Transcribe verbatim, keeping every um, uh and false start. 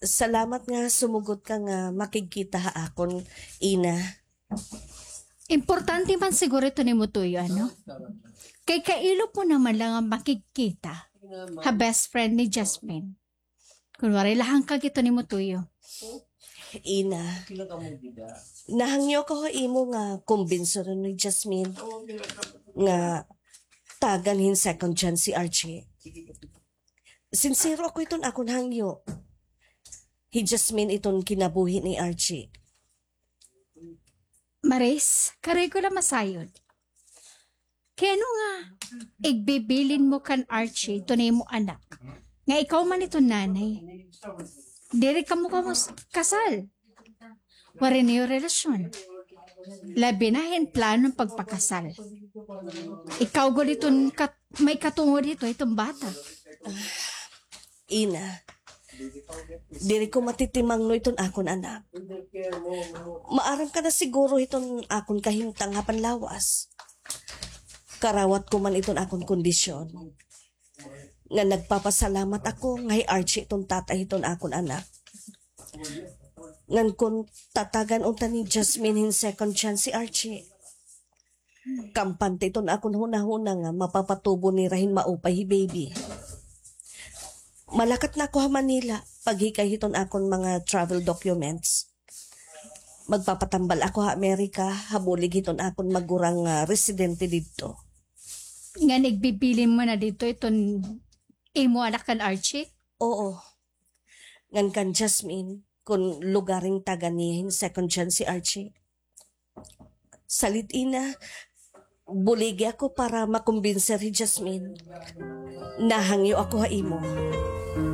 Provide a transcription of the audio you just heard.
Salamat nga sumugot ka nga makigkita ha akon, Ina. Importante man siguro ito nimo tuyo, ano? Kay kailo mo naman la nga makigkita ha best friend ni Jasmine. Kun waray la hangkag ito nimo tuyo. Ina, nahangyo ako ha imo nga kumbinsiron ni Jasmine nga tagan hin second chance si Archie. Sinsero ako hiton akon hangyo. Hi Jasmine iton kinabuhi ni Archie. Maris, karoy ko la masayod. Kay ano nga igbibilin mo kan Archie iton imo anak nga ikaw man iton nanay? Diri kamo kamo s-, kasal. Waray niyo relasyon. Labi na hin plano hin pagpakasal. Ikaw gud iton kat-, may katungod hito iton bata. Ina, diri ko matitimangno iton akon anak. Maaram ka na siguro hiton akon kahimtang ha panlawas. Karawat ko man iton akon kondisyon. Nga nagpapasalamat ako nga hi Archie iton tatay hiton akon anak. Ngan kun tatagan unta ni Jasmine hin second chance si Archie, kampante iton akon hunahuna nga mapapatubo nira hin maupay hi baby. Malakat na ako ha Manila, paghikay hiton akon mga travel documents. Magpapatambal ako ha Amerika, ha bulig hiton akon magurang nga residente didto. Ngan igbibilin mo na didto iton imo anak kan Archie? Oo. Ngan kan Jasmine, kun lugaring tagan niya hin second chance si Archie. Salit, Ina, buligi ako para makumbinser hi Jasmine. Nahangyo ako ha imo.